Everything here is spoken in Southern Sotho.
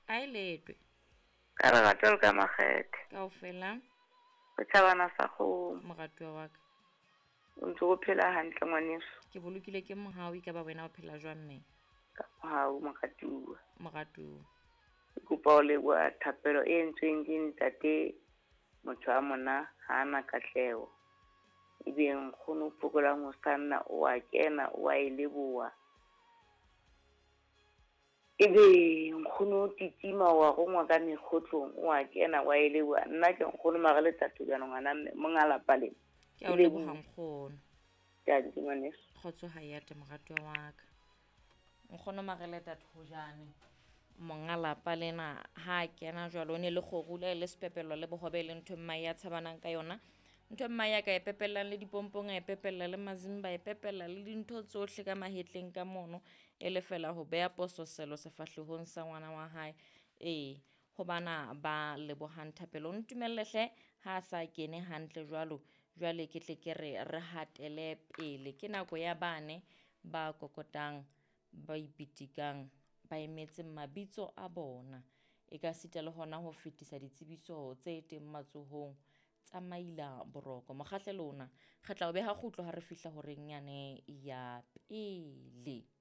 A e letwe. Ka lerato le ka makgethe. Kaofela. Setjhabana sa kgomo. Moratuwa wa ka. O ntse o phela hantle ngwaneso. Ke bolokile ke mohau, ekaba wena o phela jwang mme? Ka mohau moratuwa. Moratuwa. Ke kopa ho leboha thapelo e entsweng ke ntate motho a mona ha a na katleho. Ebe nkgono o phokolang ho sanna o a kena o a e leboha. Ebe nkgono o titima wa rongwa ka mekgotlong o a kena wa e leboha. Nna ke nkgono mara le tatojana ngwana mme monga lapa lena. Ke a o leboha nkgono. Ke ngwaneso. Kgotso ha ya te moratuwa wa ka. Nkgono Mareleta Thojane monga lapa lena ha a kena jwalo o ne le kgorula e le sepepelo le bohobe e le ntho e mmae ya tshabanang ka yona. Ntho e mmae a ka e pepellang le dipompong a e pepella le mazimba a e pepella le dintho tsohle ka mahetleng ka mono e le fela ho beha pososelo sefahlehong sa ngwana wa hae. Ee, ho bana ba lebohang thapelo. O ntumelle hle ha a sa kene hantle jwalo, jwale ke tle ke re re hatele pele. Ke nako ya bane ba kokotang, ba ipitikang, ba emetseng mabitso a bona. E ka sita le hona ho fetisa ditsebiso tse teng matsohong tsa maila boroko. Mokgahlelo ona re tla o beha kgutlo ha re fihla horeng yane ya pele.